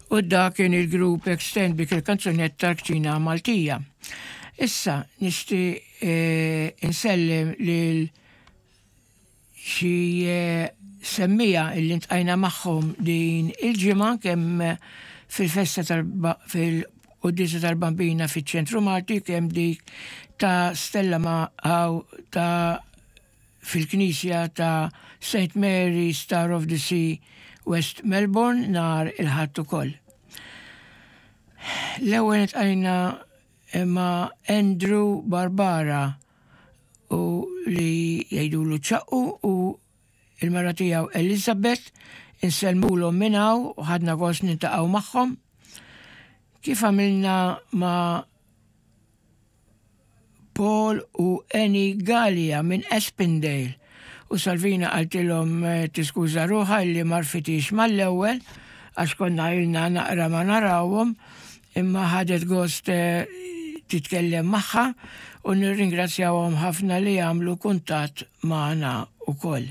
U dak kien il-grupp Extend bik il-kanzunetta l-kċina Maltija. Issa nixtieq eh, insellem lil xi eh, semmija illi ntqajna magħhom din il-ġimgħa kemm fil-festa tal fil-quddiesa tal-Bambina fiċ-Ċentru Malti kemm dik ta' Stella ma' ta' fil-Knisja ta' St Mary Star of the Sea West Melbourne nhar il-Ħadd ukoll. L-ewwel iltqajna ma' Andrew Barbara u li jgħidulu ċaqqu u il-mara tiegħu Elizabeth insellmulhom minn hawn u ħadna gost niltaqgħu magħhom. Kif għamilna ma' Paul u Annie Galea minn Aspendale u Salvina qaltilhom tiskuża ruħha illi m'għarfithiex mal-ewwel għax konna ilna naqra ma narawhom imma ħadet gost titkellem magħha u nirringrazzjawhom ħafna li għamlu kuntatt magħna wkoll.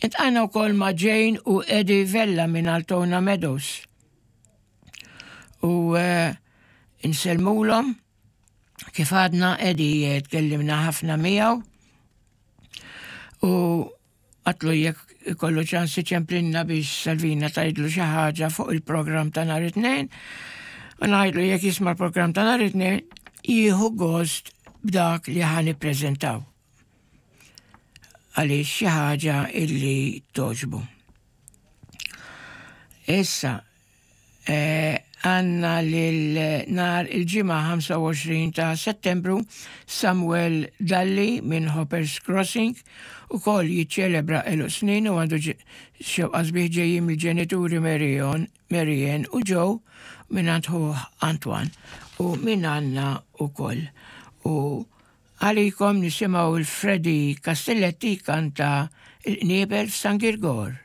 Iltqajna wkoll ma' Jane u Eddie Vella minn Altona Meadows. U eh, insellmulhom kif għadna Eddie eh, tkellimna ħafna miegħu u għatlu jekk ikollu ċans iċemplinna biex Salvina tajdlu xi ħaġa fuq il-programm ta' nhar it-tnejn. U ngħidlu jekk jisma' l-programm ta' nhar it-tnejn jieħu gost b'dak li ħa nippreżentaw. Għaliex xi ħaġa illi toġbu. Issa, eh, għanna lil nar il-ġimgħa 25 ta' Settembru Samuel Dalli minn Hoppers Crossing u kol jiċċelebra għeluq snin u għandu xewqa sbieħ ġejjin mill-ġenituri Marion, Marianne u Joe minn ħuh Antoine u minn għanna u koll. U għalikom nisimgħu il-Freddy Castelletti kanta il-qniebel f'San Girgor.